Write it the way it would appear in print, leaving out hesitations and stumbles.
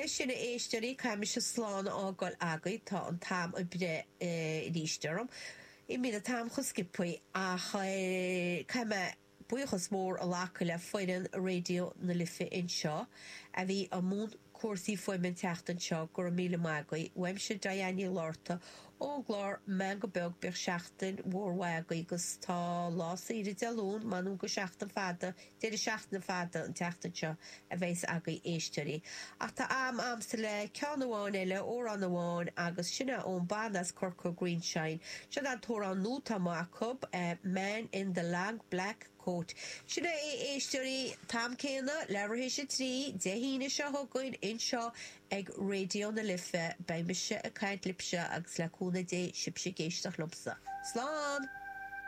Leis sin, a éisteoirí, caithfidh mise slán a fhágáil agaibh, tá an t-am ag breith arís orm. Imíonn an t-am chomh sciobthaí, ach caithfidh mé buíochas mór a ghlacadh le foireann Raidió na Life anseo a bhí i mbun cúrsaí fuaime an tseachtain seo, go raibh míle maith agaibh. Uaimse Diane Ní Fhlatharta ón gclár Meangadh Beag bíodh seachtain mhór mhaith agaibh agus tá lá saoire Dé Luain, m'anam go seachtain fada Deireadh seachtaine fada an tseachtain seo a bheas agaibh éisteoirí. Ach tá am a'msa le ceann amháin eile, amhrán amháin, agus sin é ón banna as Corca Greenshine. Seo an t-amhrán nua atá amuigh acu, Man in the Long Black Coat. Sin é a éisteoirí, t-am céanna, leathuair théis a 3, Dé hAoine seo chugainn, anseo ag Raidió na Life. Beidh mise ag caint libhse agus le cúnamh Dé sibhse ag éisteacht liomsa. Slán!